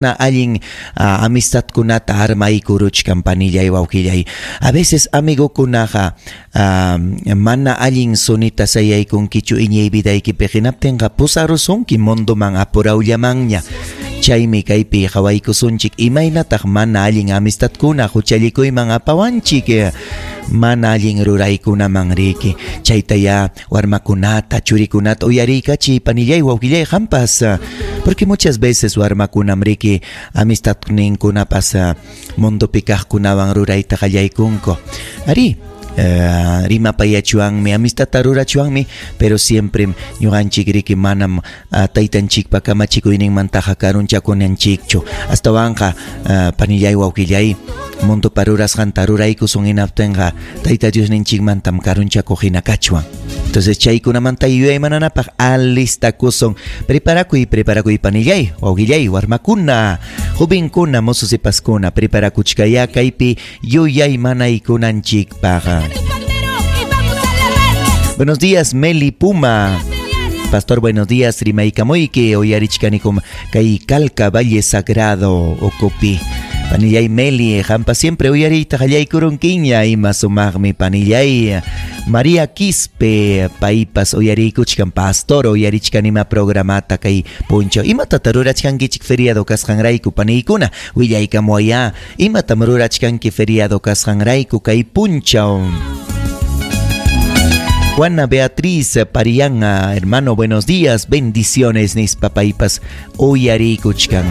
Allin amistadkunata armaykuruchkan, panillay, wawqillay. A veces amigokunaqa mana allin sunita sayaykunkichu iñiy vidaykipi, hinaptinqa pusarusunki mundoman apurawllamanña. Chaymi kaypi qawaykusunchik imaynataq mana allin amistadkuna huchallikuyman apawanchik, mana allin ruraykunaman riki. Chaytayá warmakunata, churikunata uyariykachiy, panillay, wawqillay, qampas, porque muchas veces warmakunam riki amistadninkunapas mundopi kaqkunawan rurayta qallaykunku. Arí, rimapayachuanmi, amistadta rurachuanmi, pero siempre ñuqanchik riki manam taytanchikpa kamachikuyninmantaqa karunchakunanchikchu. Astawanqa, panillay, wawqillay, mundopa rurasqanta ruraykusun hinaptinqa Tayta Diosninchikmantam karunchakuq hina kachwan. Entonces chaykunamanta yuyaymananapaq alistakusun. Preparakuy, preparakuy, panillay, wawqillay, warmakuna, jovenkuna, mozo sipaskuna, preparakuchkaya kaypi yuyaymanaykunanchikpaq. Buenos días, Meli Puma. Pastor, buenos días, rimaykamuyki, uyarichkanikum kay Calca Valle Sagrado ukupi. Panillay Meli, qampa siempre uyariyta qallaykurunkiña, ima sumaqmi, panillay. María Quispe, paypas uyariykuchkan, pastor, uyarichkanima programata kay punchaw. Imatata rurachkankichik feriado kasqanrayku, paniykuna? Willaykamuwayá, imatam rurachkanki feriado kasqanrayku kay punchaw? Juana Beatriz Parián, hermano, buenos días, bendiciones, nispa paypas uyariykuchkan.